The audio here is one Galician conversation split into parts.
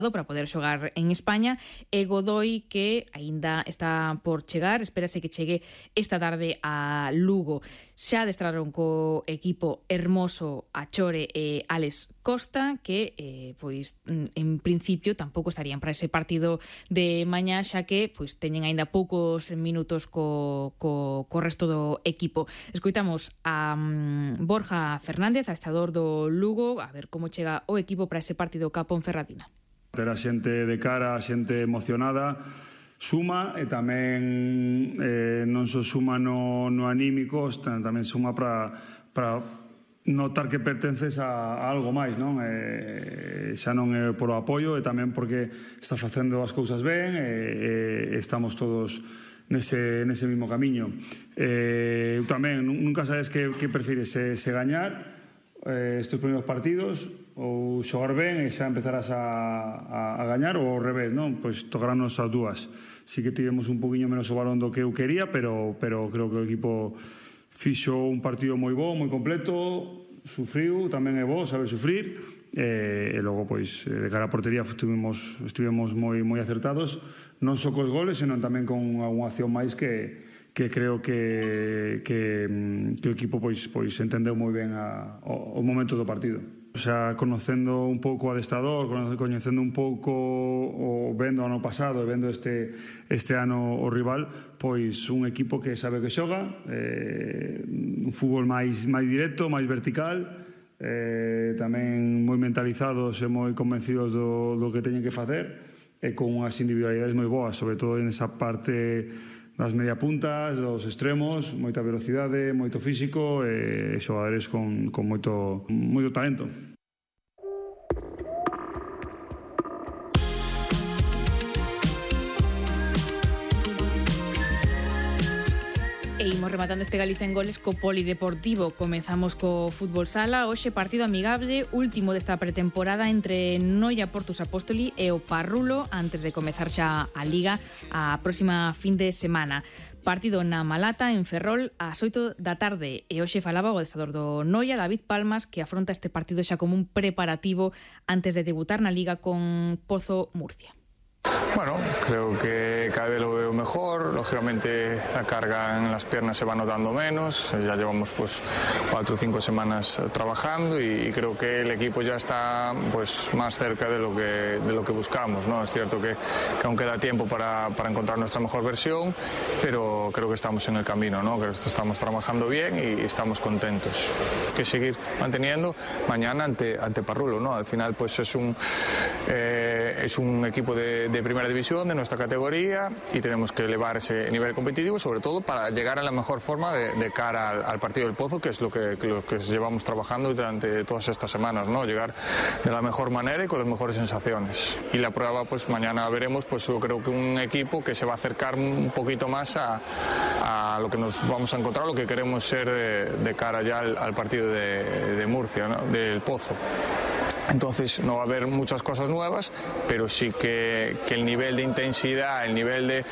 para poder xogar en España, e Godoy, que aínda está por chegar, espérase que chegue esta tarde a Lugo. Xa adestraron co equipo Hermoso, Achore e Alex Costa, que pois en principio tampouco estarían para ese partido de mañá, xa que pois teñen aínda poucos minutos co resto do equipo. Escoitamos a Borja Fernández, adestrador do Lugo, a ver como chega o equipo para ese partido ca Ponferradina. Ter a xente de cara, a xente emocionada suma, e tamén non só suma no anímico, tamén suma para notar que pertences a algo máis, non? Xa non é polo apoio, e tamén porque está facendo as cousas ben, e estamos todos nese mismo camiño. Eu tamén, nunca sabes que prefires, se gañar estes primeiros partidos ou xogar ben e xa empezarás a gañar, ou ao revés, non? Pois tocaránnos as dúas. Sí que tivemos un poquinho menos o balón do que eu quería, pero creo que o equipo fixo un partido moi bo, moi completo, sufriu, tamén é bo saber sufrir, e logo pois de cara a portería estivemos moi acertados, non só cos goles, senón tamén con algunha acción máis que creo que o equipo pois entendeu moi ben o momento do partido. Xa conocendo un pouco o adestrador, coñecendo un pouco o vendo o ano pasado e vendo este ano o rival, pois un equipo que sabe que xoga, un fútbol máis directo, máis vertical, tamén moi mentalizados e moi convencidos do que teñen que facer, e con unhas individualidades moi boas, sobre todo en esa parte das media puntas, dos extremos, moita velocidade, moito físico e xogadores con moito talento. E imos rematando este Galicia en Goles co Polideportivo. Comezamos co fútbol sala. Hoxe partido amigable, último desta pretemporada entre Noia Portus Apóstoli e o Parrulo, antes de comezar xa a Liga a próxima fin de semana. Partido na Malata, en Ferrol, ás 8 da tarde. E hoxe falaba o adestrador do Noia, David Palmas, que afronta este partido xa como un preparativo antes de debutar na Liga con Pozo Murcia. Bueno, creo que cada vez lo veo mejor, lógicamente la carga en las piernas se va notando menos, ya llevamos pues 4 o 5 semanas trabajando y creo que el equipo ya está pues más cerca de lo que buscamos, ¿no? Es cierto que aún queda tiempo para encontrar nuestra mejor versión, pero creo que estamos en el camino, ¿no? Que estamos trabajando bien y estamos contentos. Hay que seguir manteniendo mañana ante Parrulo, ¿no? Al final pues es un equipo de primera división de nuestra categoría y tenemos que elevar ese nivel competitivo, sobre todo para llegar a la mejor forma de cara al partido del Pozo, que es lo que llevamos trabajando durante todas estas semanas, ¿no? Llegar de la mejor manera y con las mejores sensaciones. Y la prueba, pues mañana veremos, pues yo creo que un equipo que se va a acercar un poquito más a lo que nos vamos a encontrar, lo que queremos ser de cara ya al partido de Murcia, ¿no? Del Pozo. Entonces no va a haber muchas cosas nuevas, pero sí que el nivel de intensidad, el nivel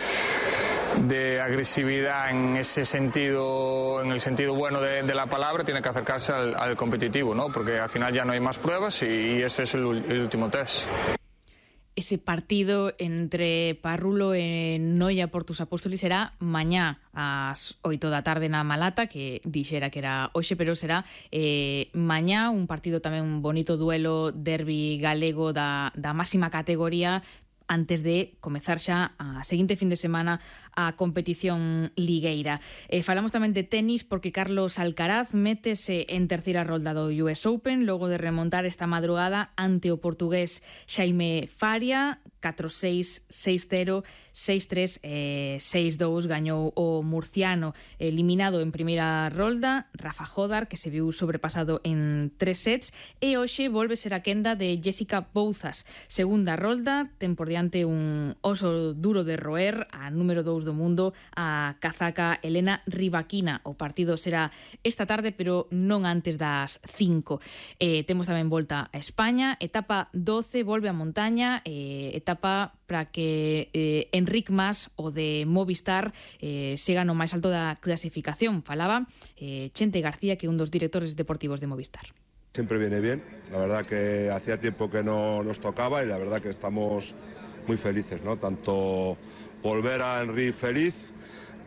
de agresividad en ese sentido, en el sentido bueno de la palabra, tiene que acercarse al competitivo, ¿no? Porque al final ya no hay más pruebas y ese es el último test. Ese partido entre Parrulo e Noia Portus Apóstoli será mañá ás 8 da tarde na Malata, que dixera que era hoxe, pero será mañá, un partido tamén un bonito duelo, derbi galego da máxima categoría, antes de comezar xa a seguinte fin de semana a competición ligueira. Falamos tamén de tenis porque Carlos Alcaraz métese en terceira rolda do US Open logo de remontar esta madrugada ante o portugués Xaime Faria, 4-6, 6-0, 6-3, 6-2, gañou o murciano eliminado en primeira rolda, Rafa Jodar, que se viu sobrepasado en 3 sets, e hoxe volve ser a quenda de Jessica Bouzas. Segunda rolda, ten por diante un oso duro de roer, a número 2 do mundo, a kazaca Elena Rybakina. O partido será esta tarde, pero non antes das 5. Temos tamén volta a España, etapa 12, volve a montaña, etapa para que Enric Mas, o de Movistar, siga no máis alto da clasificación. Falaba Chente García, que é un dos directores deportivos de Movistar. Siempre viene bien, la verdad que hacía tiempo que no nos tocaba y la verdad que estamos muy felices, ¿no? Tanto por ver a Enric feliz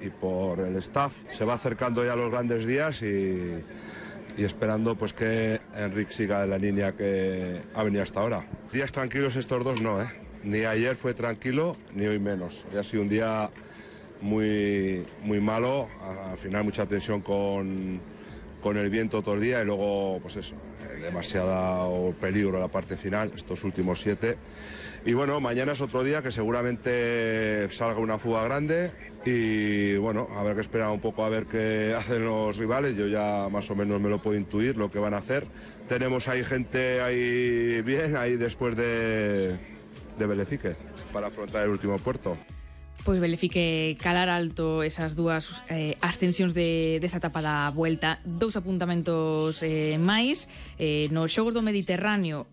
y por el staff. Se va acercando ya los grandes días y esperando pues que Enric siga en la línea que ha venido hasta ahora. Días tranquilos estos dos no, ni ayer fue tranquilo ni hoy menos. Hoy ha sido un día muy malo, al final mucha tensión con el viento todo el día y luego pues eso, demasiado peligro en la parte final, estos últimos 7. Y bueno, mañana es otro día que seguramente salga una fuga grande y bueno, habrá que esperar un poco a ver qué hacen los rivales. Yo ya más o menos me lo puedo intuir lo que van a hacer. Tenemos ahí gente ahí bien, ahí después de Belefique, para afrontar el último puerto. Pois Belefique calar alto esas dúas ascensións desa etapa da Vuelta. 2 apuntamentos máis. Nos Xogos do Mediterráneo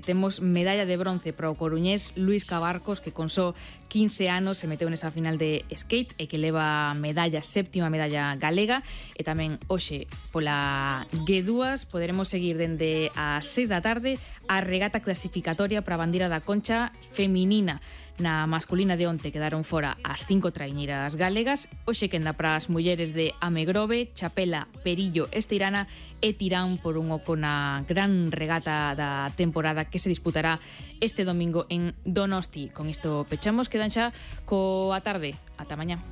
temos medalla de bronce para o coruñés Luís Cabarcos, que con só 15 anos se meteu nesa final de skate e que leva medalla, 7ª medalla galega. E tamén hoxe pola G2 poderemos seguir dende as 6 da tarde a regata clasificatoria para a bandeira da Concha feminina. Na masculina de onte quedaron fora as 5 traiñeiras galegas. Hoxe quenda para as mulleres de Amegrove, Chapela, Perillo, Esteirana e Tirán por un oco na gran regata da temporada que se disputará este domingo en Donosti. Con isto pechamos, quedan xa coa tarde. Ata mañá.